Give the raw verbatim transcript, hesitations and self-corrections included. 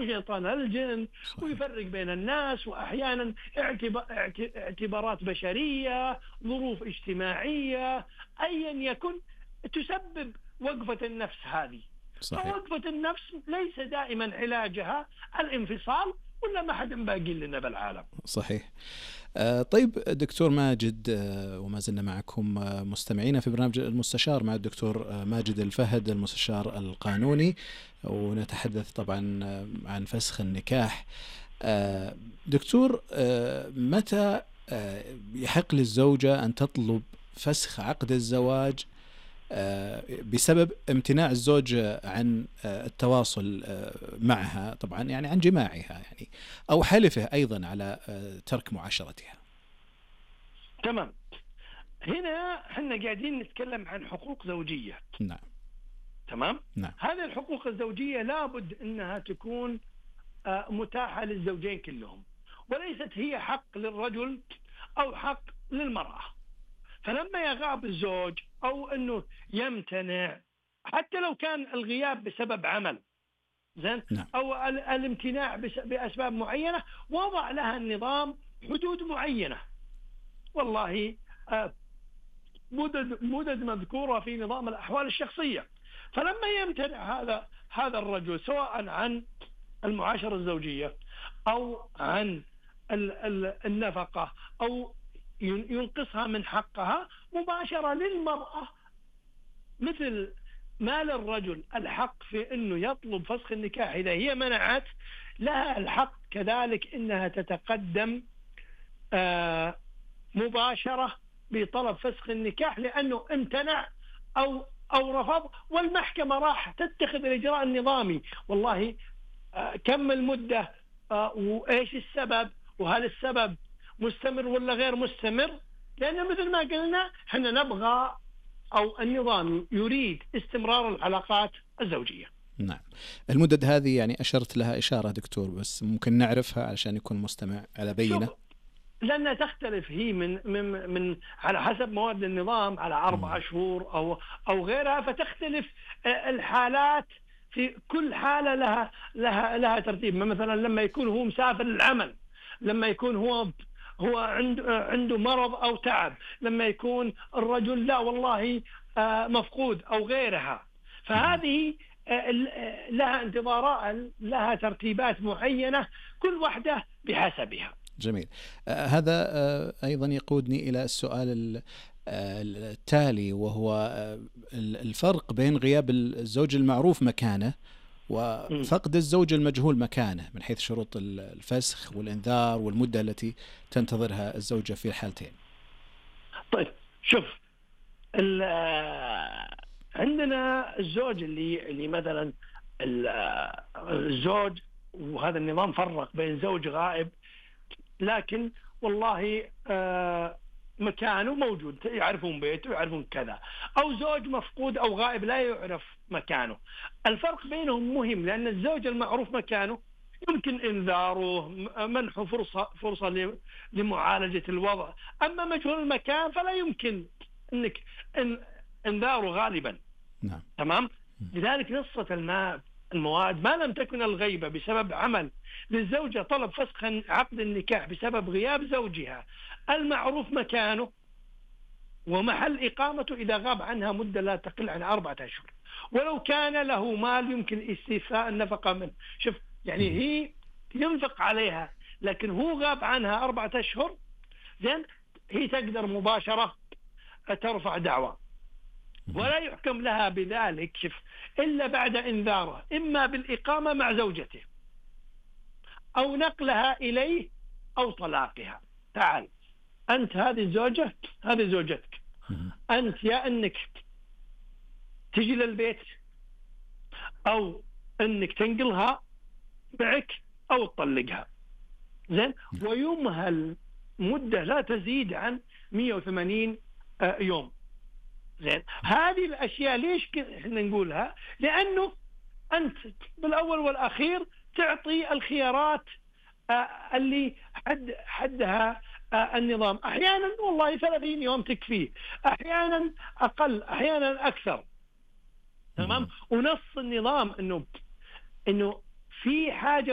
شيطان الجن ويفرق بين الناس، وأحيانا اعتبارات بشرية، ظروف اجتماعية، أيا يكن تسبب وقفة النفس هذه. فوقفة النفس ليس دائما علاجها الانفصال، ولا ما حد باقي لنا بالعالم. صحيح. آه طيب دكتور ماجد، آه وما زلنا معكم آه مستمعين في برنامج المستشار مع الدكتور آه ماجد الفهد، المستشار القانوني، ونتحدث طبعا آه عن فسخ النكاح. آه دكتور، آه متى آه يحق للزوجة أن تطلب فسخ عقد الزواج بسبب امتناع الزوج عن التواصل معها، طبعا يعني عن جماعها يعني، أو حلفه أيضا على ترك معاشرتها؟ تمام. هنا احنا قاعدين نتكلم عن حقوق زوجية. نعم. تمام. نعم. هذه الحقوق الزوجية لابد أنها تكون متاحة للزوجين كلهم، وليست هي حق للرجل أو حق للمرأة. فلما يغاب الزوج أو أنه يمتنع، حتى لو كان الغياب بسبب عمل زين نعم. أو الامتناع بأسباب معينة، وضع لها النظام حدود معينة. والله مدد مدد مذكورة في نظام الأحوال الشخصية. فلما يمتنع هذا هذا الرجل سواء عن المعاشرة الزوجية أو عن النفقة أو ينقصها من حقها، مباشرة للمرأة مثل ما للرجل الحق في أنه يطلب فسخ النكاح إذا هي منعت، لها الحق كذلك أنها تتقدم آه مباشرة بطلب فسخ النكاح لأنه امتنع أو أو رفض، والمحكمة راح تتخذ الإجراء النظامي. والله آه كم المدة آه وإيش السبب، وهل السبب مستمر ولا غير مستمر، لأن مثل ما قلنا احنا نبغى أو النظام يريد استمرار العلاقات الزوجية. نعم. المدد هذه يعني أشرت لها إشارة دكتور، بس ممكن نعرفها علشان يكون مستمع على بينة. لأنها تختلف هي من من من على حسب مواد النظام على أربعة شهور أو أو غيرها، فتختلف الحالات. في كل حالة لها لها لها ترتيب. مثلا لما يكون هو مسافر للعمل، لما يكون هو هو عنده عنده مرض أو تعب، لما يكون الرجل لا والله مفقود أو غيرها، فهذه لها انتظارات، لها ترتيبات معينة، كل واحدة بحسبها. جميل. آه هذا آه أيضا يقودني إلى السؤال التالي، وهو آه الفرق بين غياب الزوج المعروف مكانه وفقد الزوج المجهول مكانه من حيث شروط الفسخ والإنذار والمدة التي تنتظرها الزوجة في الحالتين. طيب شوف، عندنا الزوج اللي اللي مثلا الزوج، وهذا النظام فرق بين زوج غائب لكن والله مكانه موجود، يعرفون بيته يعرفون كذا، أو زوج مفقود أو غائب لا يعرف مكانه. الفرق بينهم مهم، لأن الزوج المعروف مكانه يمكن إنذاره، منحه فرصة فرصة لمعالجة الوضع. أما مجهول المكان فلا يمكن أنك إنذاره غالبا. نعم. تمام. لذلك نصت الماء المواد ما لم تكن الغيبة بسبب عمل للزوجة طلب فسخ عقد النكاح بسبب غياب زوجها المعروف مكانه ومحل إقامته إذا غاب عنها مدة لا تقل عن أربعة أشهر، ولو كان له مال يمكن استيفاء النفقة منه. شوف يعني هي ينفق عليها لكن هو غاب عنها أربعة أشهر، زين، هي تقدر مباشرة ترفع دعوى ولا يحكم لها بذلك شوف إلا بعد إنذاره، إما بالإقامة مع زوجته أو نقلها إليه أو طلاقها. تعال أنت هذه الزوجة، هذه زوجتك، أنت يا أنك تجي للبيت أو أنك تنقلها معك أو تطلقها، زين، ويمهل مدة لا تزيد عن مئة وثمانين يوم. زين، هذه الأشياء ليش احنا نقولها؟ لأنه أنت بالأول والأخير تعطي الخيارات اللي حد حدها النظام. أحيانا والله ثلاثين يوم تكفيه، أحيانا أقل، أحيانا أكثر. تمام. ونص النظام إنه إنه في حاجة